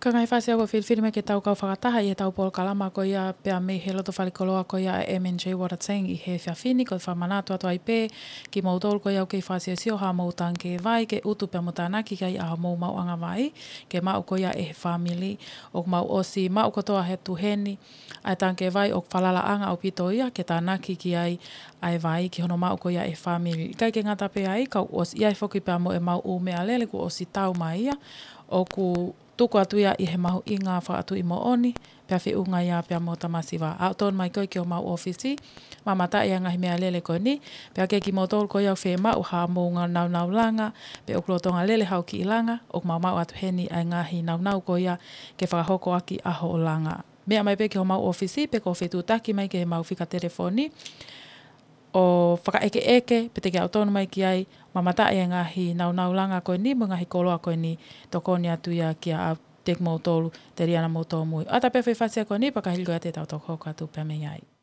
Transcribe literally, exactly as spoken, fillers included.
Ko e ngaahi fasi ʻoku ou filifilimālie ke tau kau fakataha ʻi heʻetau polokalama ko ia pea mei he loto falekoloa ko ia ʻa e M and J Water Tank ʻi he efiafi ni, ko e fakamanatu atu ai pē kimoutolu ko ia ʻoku kei fakasiosio haʻamou tangikē vai ke utu pea mo tānaki ki ai ʻa hoʻomou maʻuʻanga vai, ke maʻu ko ia ʻe he fāmili. ʻOku mau ʻosi maʻu kotoa he tuʻu heni ʻa e tangikē vai ʻoku falalaʻanga ʻaupito ia ke tānaki ki ai ʻa e vai ki hono maʻu ko ia ʻe he fāmili. ʻIkai ke ngata pē ai, ka ʻoku ʻosi ʻi ai foki pea mo ʻemau ʻū meʻalele kuo ʻosi tau mai ia, ʻoku tuku atu ia ʻi he mahuʻinga fakatuʻi moʻoni, pea feʻunga ia pea mo tamasiva. Aʻu tonu mai koe ki homau ʻōfisi, mamataʻi ʻa e ngaahi meʻalele ko eni, pea ke kimoutolu ko ia ʻoku fiemaʻu haʻamou ngaahi nāunau langa, pe ʻoku lolotonga lele haʻo kiʻi langa, ʻoku mau maʻu atu heni ʻa e ngaahi nāunau ko ia ke fakahoko ʻaki ʻa hoʻo langa. Meʻa mai pē ki homau ʻōfisi, pe ko e fetuʻutaki mai ki heʻemau fika telefoni, ʻo fakaʻekeʻeke, pe te ke aʻu tonu mai ki ai, mamataʻi ʻa e ngaahi nāunau langa ko eni, mo e ngaahi koloa ko eni, tokoni atu ia kia kimoutolu, Teliana mo Tōmui. ʻOatu pē foʻi fasi ko eni, pea ka hili ko ia te tau toki hoko atu pē mei ai.